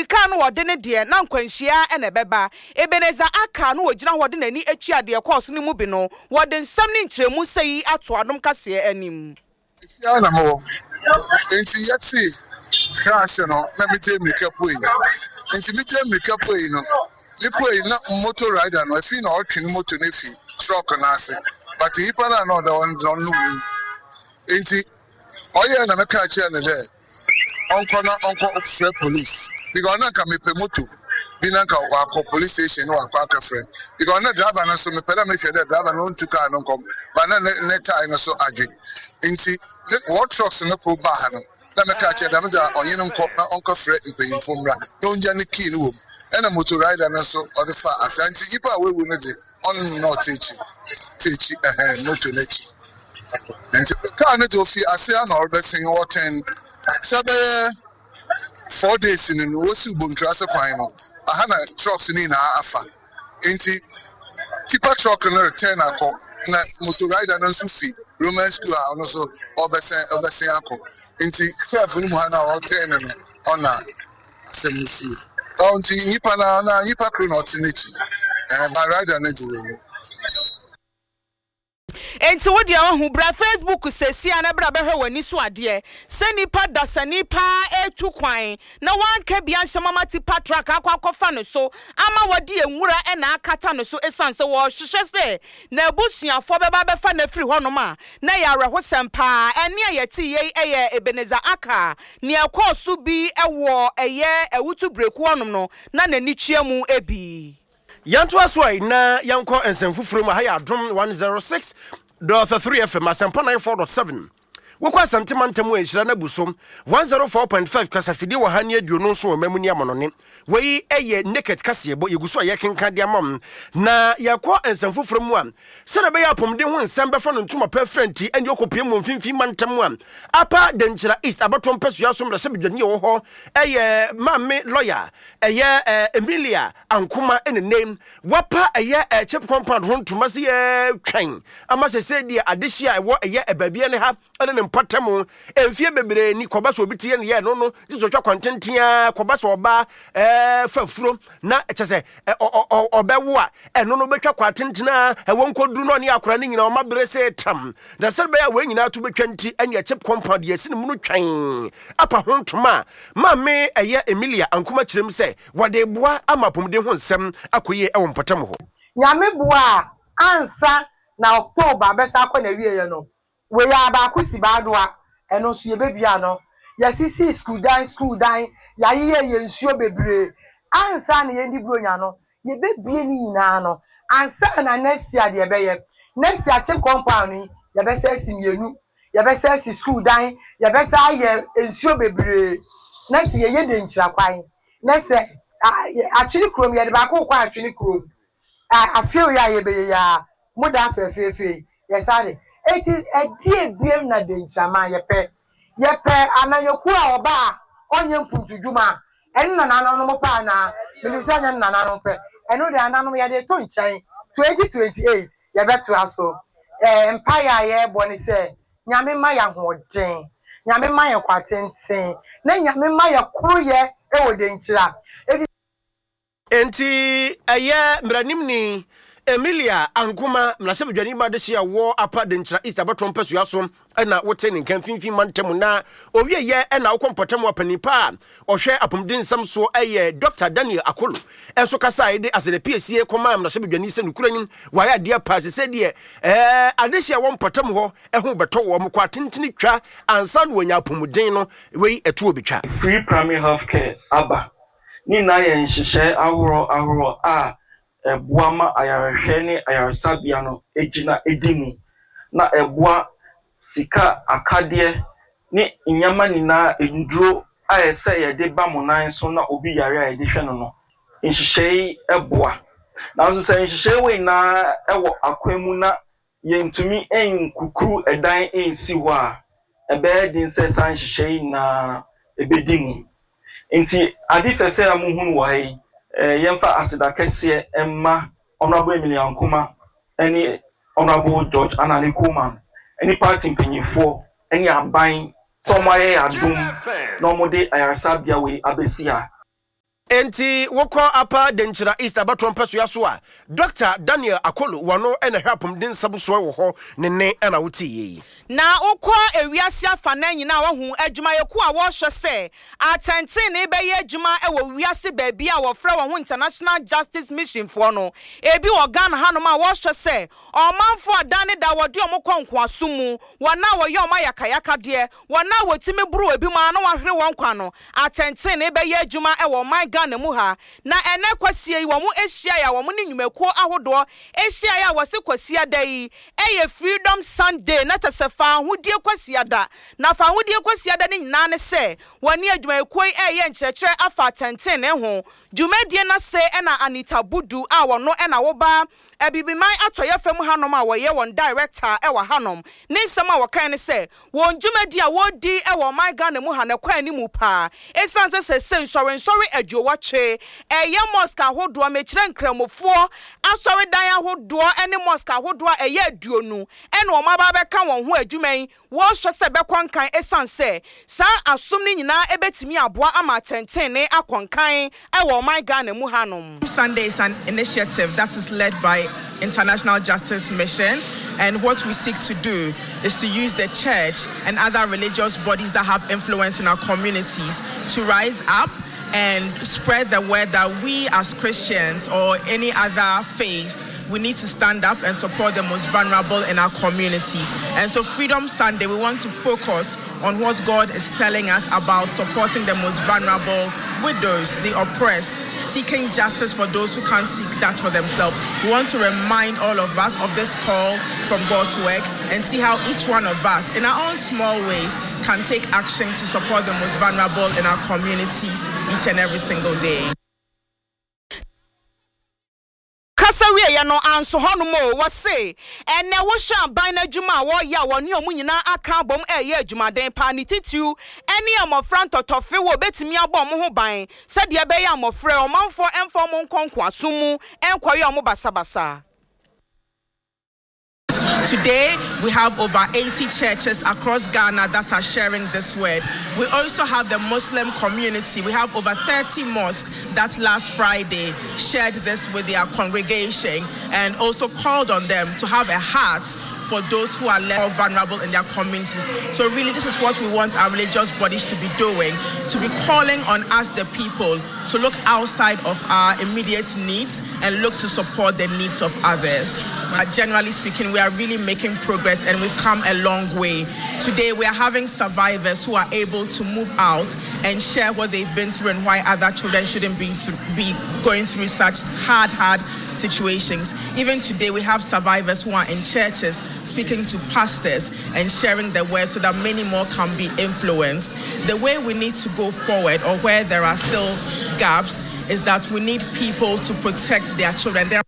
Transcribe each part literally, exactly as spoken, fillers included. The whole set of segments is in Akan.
Mmirika no wɔde ne deɛ na nkwanhyia na ɛbɛba. Ebenezer Arkaah no wɔgyina hɔ de n'ani atua deɛ ɛkɔɔ so no mu bi no, wɔde nsɛm ne nkyerɛmu sɛɛ yi ato Adom Kaseɛ anim. Efie ara na mowɔ, enti yɛtee crash no na megyee mmirika puei. Enti megyee mmirika puei no, mepuei na motor rider no afei na ɔretwe ne motor no afi truck no ase, but nyimpa no a na ɔda hɔ no dze ɔno oewu. Enti ɔyɛe na mekaa kyerɛɛ no dɛ ɔnkɔ na ɔnkɔ frɛ police because na nka mepɛ motor bi na nka ɔakɔ police station na ɔakɔ akɛfrɛ no because na driver no so mepɛ dɛ mehwɛ dɛ driver no onntu car no nkɔ but na ne ne tae no so adwe ntsi ne wɔ trucks no kor baa ha no na mekaa kyerɛ dɛm dza ɔnye no nkɔ na ɔnkɔfrɛ mpanyimfo mbra na ongya ne key no wɔ mu ɛna motor rider no so ɔdze faa ase ntsi nyimpa a oewu no dze ɔno na ɔtse ekyir tse ekyir ɛhɛn motor n'ekyir ntsi car no dze ofi ase a na ɔrebɛsen wɔtɛn sɛ bɛyɛ four days no no wosiw Bonturase kwan no aha na trucks no nyinaa afa ntsi tipper truck no return akɔ na motor rider no nso fi Roman school a ɔno nso ɔbɛsɛn ɔbɛsen akɔ nti curve no mu ha na ɔreturn no no ɔna asɛm no sie ɔ nti nyimpa na na nyimpa koro na ɔte n'akyi ɛɛ ba rider no gye wɔ mu. Enti wo deɛ wahu, bra Facebook seesei ara na bra bɛhwɛ w'ani so adeɛ sɛ nipa dasani paa retu kwan na wanka bi anhyɛ mama tipa truck akɔ akɔfa no so ama wɔde nwura na akata no so esiane sɛ wɔrehwehwɛ sɛ n'abusuafoɔ bɛba abɛfa no afiri hɔnom a na ɛyɛ awerɛhosɛm paa. Ɛnne a yɛtee yei yɛ Ebenezer Arkaah, nea ɛkɔɔ so bi wɔ ɛyɛ Awutu Breku hɔnom no na n'ani tua mu bi. Yɛntoa so ɛ na yɛnkɔ nsɛm foforɔ mu. Aha yɛ Adom one zero six dot three F M, Asɛmpa ninety four dot seven. Wokɔ Asante mantam a, nhyira no abu so. one zero four point five kasafidie wɔ ha ne aduonu nson wɔ mmamu ne amanɔne. Wei yɛ Naked kaseɛbɔ, yɛgu so a yɛkenkan de ama mo. Na yɛkɔ nsɛm foforɔ mu a, sɛdeɛ ɛbɛyɛ apɔmuden ho nsɛm bɛfa no ntoma pa afira nti, ɛne ɔkɔpue mu wɔ mfimfini mantam a Upper Denkyira East abatoɔ mpasua so mmarahyɛbadwani a ɛwɔ hɔ yɛ Maame Lɔya ɛyɛ Emilia Ankoma ne nnɛ wapa ɛyɛ chip compound ho ntoma sɛ yɛtwɛn ama sɛsɛ deɛ adehye a ɛwɔ ɛyɛ baabi ne ha ne ne mpɔtam mfie bebree ni kɔba sɛ obi te yɛ ne yɛ no no gye sɛ ɔtwa kwantenten a kɔba sɛ ɔba ɛɛ fa furo na kyɛ sɛ ɔbɛwo a ɛno no bɛtwa kwantenten a ɛwɔ nkɔduru no ɔne akora no nyinaa ɔma bere sɛ tam na sɛ bɛyɛ a wɔn nyinaa to bɛtwa nti ɛne chip compound yɛsi ne mu no twɛn apa ho ntoma a maame ɛyɛ Emilia Ankoma kyerɛ mu sɛ wɔde boa ama apɔmuden ho nsɛm akɔ yie wɔ mpɔtam hɔ. Nyame boa a, ansa na October bɛsan akɔ n'awieɛ no, wei ara baako si Baadoa, ɛno nso yɛbɛbue ano. Yɛasisi sukuu dan sukuu dan, yɛayeyɛ yɛn nsuo bebree. Ansa na yɛndi Buronya no, yɛbɛbue ne nyinaa ano. Ansa na next year deɛ yɛbɛyɛ, next year Kye compound yi, yɛbɛsan asi mmienu, yɛbɛsan asi sukuu dan, yɛbɛsan ayɛ nsuo bebree. Na sɛ yɛyɛ Denkyira kwan, na sɛ Atwene kurom, yɛde baako rekɔ Atwene kurom, afei yi a yɛbɛyɛ yi ara, mo da fɛfɛɛfɛ yi, yɛsan de. Enti ɛdeɛ biam na Denkyiraman yɛpɛ? Yɛpɛ amanyɔkuo a ɔba a ɔnyɛ mpuntudwuma a, ɛno na nananom pɛ anaa? Menim sɛ ɛnyɛ no nananom pɛ. Ɛno deɛ nananom yɛde reto nkyɛn, twenty twenty eight yɛbɛtoa so. Ɛɛ mpaeɛ a yɛrebɔ ne sɛ, Nyame mma yɛn ahoɔden, Nyame mma yɛn nkwa tenten, na Nyame mma yɛn koroyɛ wɔ Denkyira. Efi. Enti ɛyɛ mmaranimni Emilia Ankoma, mmarahyɛbadwani ma adehye a ɔwɔ Upper Denkyira East abatoɔ mpasua so na wote ne nka mfimfini mantam na owieɛ na wokɔ mpɔtam a panin pa a ɔhwɛ apɔmuden nsɛm soɔ ɛyɛ Dɔkta Daniel Akolo nso kasaeɛ de asɛdɛ piesie kɔmaa mmarahyɛbadwani sɛ nokorɛ nim wayɛ adeɛ paa sɛ sɛdeɛ ɛɛ adehye a ɛwɔ mpɔtam hɔ ɛho bɛtɔ wɔn kɔ atentene twa ansa na wɔanya apɔmuden no wei ɛtoɔ bɛtwa. Free primary health care aba. Ne nyinaa yɛ nhyehyɛe ahorow ahorow a ɛboa ma ayarehwɛ ne ayaresabea no gyina di mu, na ɛboa sika akadeɛ ne nneɛma nyinaa nnuro a ɛsɛ yɛde ba mo nan so na obi yare a yɛde hwɛ no no. Nhyehyɛe yi boa. Nanso sɛ nhyehyɛe wei nyinaa wɔ akwan mu na yɛntumi nkukuru ɛdan nsi hɔ a, ɛbɛyɛ den sɛ saa nhyehyɛe yi nyinaa ɛbɛdi mu. Nti ade fɛfɛ a muhunu wɔ ha yi, yɛmfa aseda kɛseɛ mma Honourable Emilia Ankoma ne Honourable George Anane Coleman ne party mpanyinfoɔ ne aban sɛ wɔn ayɛ yɛn adom na wɔde ayaresabea wei abɛsi ha. Enti wokɔ Upper Denkyira East abatoɔ mpɛsoa so a, Dɔkta Daniel Akolo wano na ɛhwɛ apɔmuden nsɛm soɔ wɔ hɔ, ne nne na woteeɛ yi. Na wokɔ ewiase afanan nyinaa a woahu adwumayɛkuo a wɔrehwɛ sɛ atɛntenenee bɛyɛ adwuma wɔ wiase baabi a wɔfrɛ wɔn ho International Justice Mission foɔ no. Ebi wɔ Ghana hanom a wɔrehwɛ sɛ ɔmanfoɔ a da ne da wɔde wɔn kɔ nkoasom mu, wɔn a wɔyɛ wɔn ayakayakadeɛ, wɔn a wɔtumi boro ebinom ara na wɔahwere wɔn nkwa no, atɛntenenee bɛyɛ adwuma wɔ ɔman Ghana mu ha. Na ɛnnɛ Kwasia yi wɔn hyiaeɛ a wɔn ne nnwumakuo ahodoɔ hyiaeɛ a wɔse Kwasiada yi yɛ Freedom Sunday na kyɛ sɛ Faahodie Kwasiada. Na Faahodie Kwasiada no nyinaa ne sɛ wɔne adwumayɛkuo yi reyɛ nkyerɛkyerɛ afa atɛntenenee ho. Dwumadie no ase na Anita Budu a ɔno na woba Abibiman atɔeɛ fam hanom a wɔyɛ wɔn director wɔ hanom ne nsɛm a wɔkae ne sɛ wɔn dwumadi a wɔredi wɔ ɔman Ghana mu ha no kɔ anim paa esiane sɛ seesei nsɔrensɔre aduowɔtwe ɛyɛ mosque ahodoɔ mekyerɛ nkramofoɔ asɔredan ahodoɔ ne mosque ahodoɔ a ɛyɛ aduonu na wɔn aba abɛka wɔn ho adwuma yi wɔrehwɛ sɛ ɛbɛkɔ nkan esiane sɛ saa asom no nyinaa bɛtumi aboa ama atɛntenenee akɔ nkan wɔ ɔman Ghana mu hanom. Sunday is an initiative that is led by International Justice Mission, and what we seek to do is to use the church and other religious bodies that have influence in our communities to rise up and spread the word that we as Christians or any other faith, we need to stand up and support the most vulnerable in our communities. And so Freedom Sunday, we want to focus on what God is telling us about supporting the most vulnerable, widows, the oppressed, seeking justice for those who can't seek that for themselves. We want to remind all of us of this call from God's work and see how each one of us, in our own small ways, can take action to support the most vulnerable in our communities each and every single day. Kasa wieɛ no anso hɔnom o, wɔse ɛnnɛ wohwɛ aban no adwuma a wɔreyɛ a wɔne wɔn nyinaa aka abom reyɛ adwumaden paa, ne titiriw ne mmɔfra ntɔtɔfe wɔ bɛtumi abɔ wɔn ho ban sɛdeɛ ɛbɛyɛ a mmɔfra yi ɔmanfoɔ mfa wɔn nkɔ nkoasom mu nkɔyɛ wɔn basabasa. Today, we have over eighty churches across Ghana that are sharing this word. We also have the Muslim community. We have over thirty mosques that last Friday shared this with their congregation and also called on them to have a heart for those who are less vulnerable in their communities. So really, this is what we want our religious bodies to be doing, to be calling on us, the people, to look outside of our immediate needs and look to support the needs of others. Uh, generally speaking, we are really making progress and we've come a long way. Today, we are having survivors who are able to move out and share what they've been through and why other children shouldn't be, th- be going through such hard, hard situations. Even today, we have survivors who are in churches speaking to pastors and sharing the word so that many more can be influenced. The way we need to go forward, or where there are still gaps, is that we need people to protect their children. There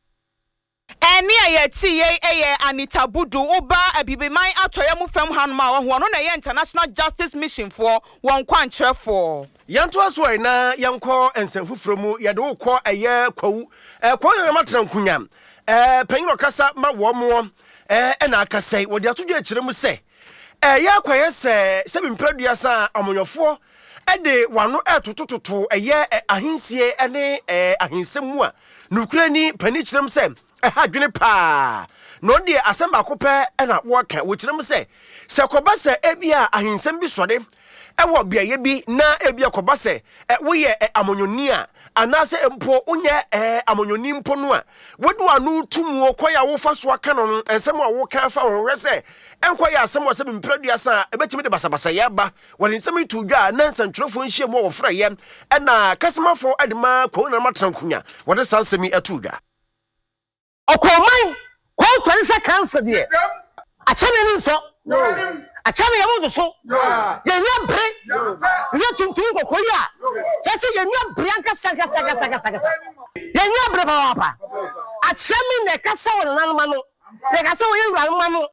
Ɛnne a yɛte yei yɛ Anita Budu, woba Abibiman atɔeɛ mu fam hanom a, wahu, ɔno na ɛyɛ International Justice Mission foɔ wɔn kwankyerɛfoɔ. Yɛntoa so ɛ na yɛnkɔ nsɛm foforɔ mu. Yɛde wo kɔ ɛyɛ Kwawu. Kwawu Nananom atena nkonya. Panyin a ɔkasa ma wɔn moɔ ɛna akasa yi. Wɔde ato dwa akyerɛ mu sɛ ɛyɛ akɔyɛ sɛ sɛbi mprɛ aduasa a amanyɔfoɔ de wɔn ano retotototo ɛyɛ ahensie ne ahensɛm mu a nokorɛ ni panin kyerɛ mu sɛ ɛha adwene paa. Na ɔno deɛ asɛm baako pɛ na wɔka. Wɔkyerɛ mu sɛ sɛ kɔba sɛ ebia ahensɛm bi sɔre ɛwɔ beaeɛ bi na ebia kɔba sɛ woyɛ amanyɔni a anaasɛ mpo wonyɛ amanyɔni mpo no a wode w'ano to muo kwan a wofa so aka no no nsɛm a woka fa ho hwɛ sɛ ɛnkɔyɛ asɛm wɔ sɛ mprɛ aduasa a ɛbɛtumi de basabasayɛ aba. Wɔde nsɛm yi too dwa a na nsɛntwerɛfoɔ nhyiamu a wɔfrɛeɛ ɛna kasamafoɔ de ma Kwawu Nana Matrankunya wɔde saa nsɛm yi too dwa. Ɔkɔɔman kɔɔtɔre sɛ kansa deɛ akyɛ me ani nsɔ akyɛ me yɛm nsoso yɛn ani abere yɛ tuntum kɔkɔɔ yi a kyerɛ sɛ yɛn ani abere ankasa ankasa ankasa ankasa ankasa yɛn ani abere papaapa akyɛ me na ɛkasa wɔ nananom ano na ɛkasa wɔ yɛn wuranom ano.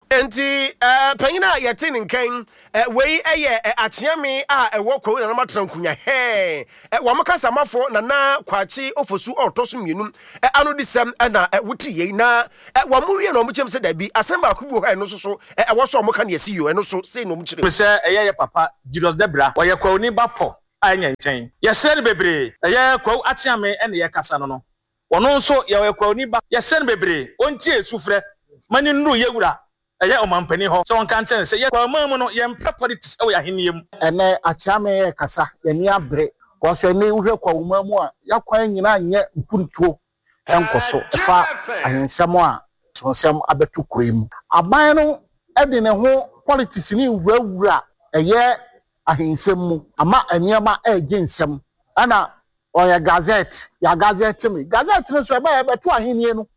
Enti panyin a yɛte ne nka yi, wei yɛ Akyeame a ɛwɔ Kwawu Nananom Atena Nkunya hɛɛ, wɔn kasamafo Nana Kwakye Ofosu a ɔtɔ so mmienu anodisɛm na wote yei. Na wɔn wie na wɔkyerɛ mu sɛ dabi, asɛm baako bi wɔ hɔ a ɛno nso so ɛwɔ sɛ wɔka nea ɛsi yio, ɛno nso sei na wɔkyerɛ mu. Sɛ ɛyɛ yɛ papa Julius Debra, ɔyɛ Kwawuni ba pɔ. a ɛnyɛ nkyɛn. Yɛsrɛ no bebree, ɛyɛ Kwawu Akyeame ɛne yɛkasa no no. Ɔno nso yɛwɔ Kwawuni ba. Yɛsrɛ no bebree, ɔntie sufrɛ ma ne nnuru yɛwura ɛyɛ ɔmampanin hɔ sɛ ɔnka nkyɛn sɛ yɛ Kwawuman mu no yɛmpɛ politics ɛwɔ yɛn ahenni mu. Ɛnɛ Akyeame yɛ kasa, yɛni abere kɔsɛ ne wohwɛ Kwawuman mu a, yɛakwan nyinaa nyɛ mpuntuo ɛnkɔ so ɛfa ahensɛm a nsɛm abɛto kuro yi mu. Aban no ɛde ne ho politics ne wurawura ɛyɛ ahensɛm mu ama nneɛma ɛregye nsɛm, ɛna ɔyɛ gazette, yɛ gazette mi gazette no so ɛbɛyɛ ɛbɛto ahenni no.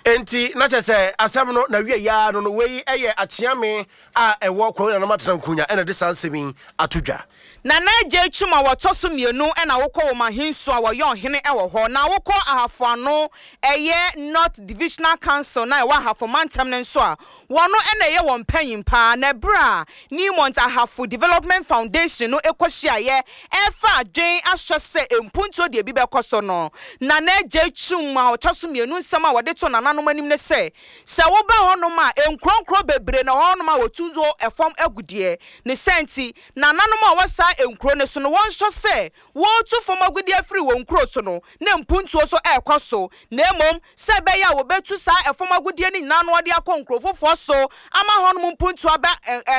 Enti na kyerɛ sɛ asɛm no na wie yaa no no wei ɛyɛ Akyeame a ɛwɔ Kwawu Nananom atena nkonya ɛna de saa nsɛm yi ato dwa. Nana Agye Twum a wɔtɔ so mmienu ɛna wokɔ wɔ Mahinso a wɔyɛ ɔhene ɛwɔ hɔ, na wokɔ Ahafo Ano ɛyɛ North Divisional Council na ɛwɔ Ahafo mantam no nso a, wɔno ɛna ɛyɛ wɔn panyin paa. Na ɛberɛ a Newmont Ahafo Development Foundation no ɛkɔhyiaeɛ ɛfa adwen ahyɛ sɛ mpuntuo deɛ bi bɛkɔ so no, Nana Agye Twum a ɔtɔ so mmienu nsɛm a wɔde to nananom anim ne sɛ, sɛ woba hɔnom a, nkuronkuro bebree na hɔnom a wɔtu do ɛfam agudeɛ ne sɛ nti nananom a wɔwɔ saa nkuro no so no, wɔnhwɛ sɛ wɔretu fam agudeɛ afiri wɔn nkuro so no na mpuntuo so ɛrekɔ so, na mmom sɛ ɛbɛyɛ a wɔbɛtu saa ɛfam agudeɛ no nyinaa no wɔde akɔ nkuro foforɔ so ama hɔnom mpuntuo aba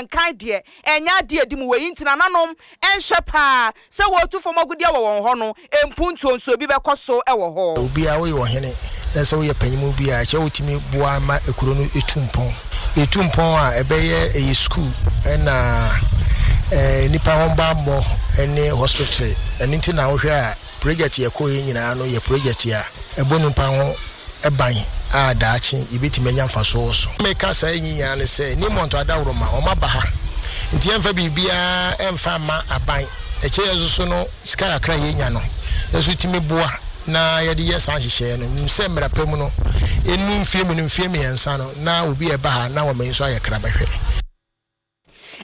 nkan deɛ, ɛnyɛ adeɛ edi mu. Wɔ yi nti nananom ɛnhyɛ paa sɛ wɔretu fam agudeɛ wɔ wɔn hɔ no, mpuntuo nso ebi bɛkɔ so ɛwɔ hɔ. Obiara woyɛ ɔhene na sɛ woyɛ panyimu bi a, ɛkyɛ wotumi boa ma ekuro no etu mpɔn. Etu mpɔn a, ɛbɛyɛ ɛyɛ sukuu ɛna ɛɛ nipa ho bammɔ ɛne hospital. Ɛno nti na wohwɛ a, project yɛ kɔ yi nyinaa no yɛ project a ɛbɔ nipa ho ɛban a daakye yɛbɛtumi anya mfasoɔ wɔ so. Meka saa yi nyinaa ne sɛ Newmont adaworoma ɔma ba ha nti yɛmfa biribiara ɛmfa mma aban. Ɛkyɛ yɛn nso so no, sika kakra yɛnya no yɛnso tumi boa na yɛde yɛ saa nhyehyɛeɛ no. Nim sɛ mmara pa mu no, ɛnu mfie mmienu, mfie mmiɛnsa no, na obi a ɛba ha na wɔma yi nso ayɛ krabɛhwɛ.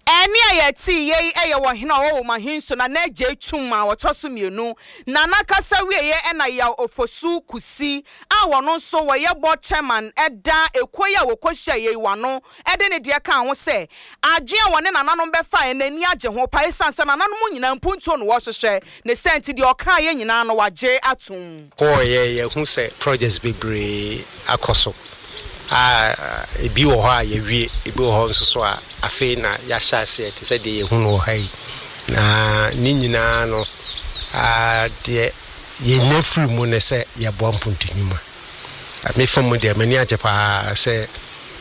Ɛne a yɛte yei ɛyɛ wɔ hene a ɔwɔ wɔ Mahinso na n'agye Twum a wɔtɔ so mmienu na n'akasa wieɛ ɛna Yaw Ofosu Kusi a wɔno nso wɔyɛ board chairman ɛda ekuo yi a wɔkɔhyia yei wano ɛde ne deɛ ka ho sɛ adwene a wɔne nananom bɛfa n'ani agye ho pa, esiane sɛ nananom nyinaa mpuntuo no wɔhyehyɛ ne sɛ nti deɛ ɔka yɛ nyinaa no wagye atom. Kɔɔyɛ yɛhu sɛ projects bebree akɔ so a, ebi wɔ hɔ a yɛwie, ebi wɔ hɔ nso so a afei na yɛahyɛ aseɛ te sɛ deɛ yɛhu no wɔ ha yi. Na ne nyinaa no, deɛ yɛnya firi mu ne sɛ yɛboa mpuntu nnwuma. Mefa mu deɛ, m'ani agye paa sɛ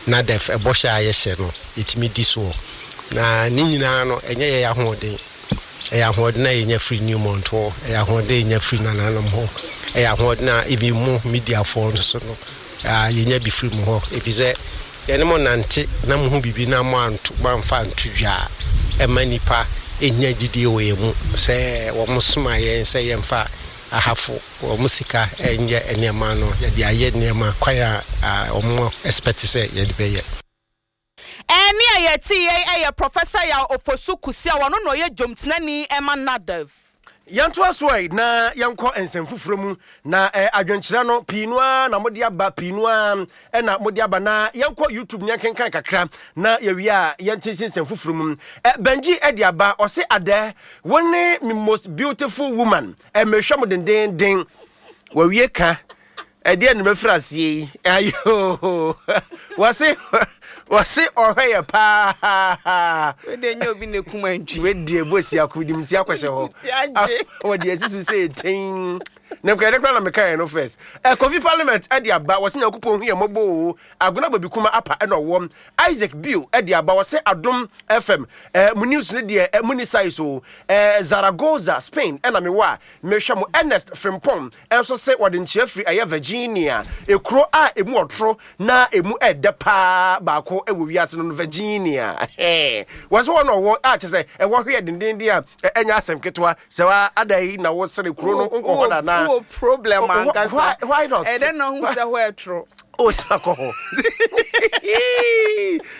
NADEF ɛbɔhyɛ a yɛhyɛ no yɛtumi di soɔ. Na ne nyinaa no, ɛnyɛ yɛyɛ ahoɔden, ɛyɛ ahoɔden a yɛnya firi Newmont hɔ, ɛyɛ ahoɔden a yɛnya firi nananom hɔ, ɛyɛ ahoɔden a ebi mu mediafoɔ nso so no yɛnya bi firi mu hɔ, ɛfiri sɛ yɛne mo nante na mo ho biribi na mo anto mo amfa anto dwa a, ɛma nipa ɛnya gyidie wɔ yɛn mu sɛ wɔn soma yɛn sɛ yɛmfa Ahafo wɔn sika ɛnyɛ nneɛma no, yɛde ayɛ nneɛma kwan a wɔn expect sɛ yɛde bɛyɛ. Ɛne a yɛte yei ɛyɛ Professor Yaw Ofosu Kusi a wɔno na ɔyɛ dwomtenani ɛma NADEF. Yɛntoa so ɛ na yɛnkɔ nsɛm foforɔ mu na eh, adwenkyerɛ no pii no ara na mode aba, pii no ara ɛna mode aba, na yɛnkɔ YouTube ne yɛnkenkan kakra na yɛwie a yɛnte nsɛm foforɔ mu. eh, Benji ɛde aba, ɔse adɛ wo ne me most beautiful woman, eh, mehwɛ mo dendenden. Wawie ka ɛdeɛ ne mɛfiri aseɛ yi ayo, wɔse wɔse ɔhwɛ yɛ paa. Wede nyɛ obi na kum antwi. Wedeɛ bɔsi akodim nti akɔhyɛ hɔ. Ti agye. Wɔde asi so sɛ ɛtɛn na nkɔyɛde kora na mekaeɛ no first. eh, Kofi Parliament ɛde aba, wɔse Nyankopɔn hu yɛ mmɔbɔ o. Agona Babi Kuma apa ɛna ɔwɔ Isaac Bio ɛde aba, wɔse Adom F M eh, mu news no deɛ eh, mu ni size o. eh, Zaragoza, Spain ɛna mewɔ a mehwɛ mo. Ernest Frimpong ɛnso sɛ wɔde nkyea firi ɛyɛ Virginia, ekuro a emu ɔtoro na emu ɛdɛ paa baako ɛwɔ wiase no no Virginia. Wɔsɛ wɔn na ɔwɔ a kyɛ sɛ ɛwɔ hwɛ dendenden a ɛnyɛ asɛm ketewa sɛ wa ada yi na wɔsere kuro no nkɔ hɔ nana. Wowɔ problem ankasa. Why not? Ɛdɛ na ɔhu sɛ hɔ ɛtoro. O sa kɔ hɔ.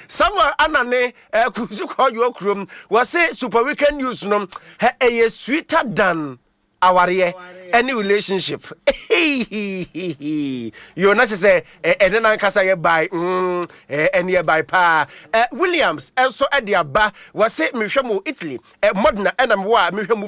Samuel Anane ɛkusu kɔ ɔyɔ kurom, wɔse Super Weekend News no ɛyɛ sweeter than Awareɛ ɛne relationship yo na kyɛ sɛ ɛne nankasa yɛ bae, mm, ɛne yɛ bae paa. Williams ɛnso ɛde aba, wɔse mehwɛ mu Italy, Modena, ɛna mewɔ a mehwɛ mu.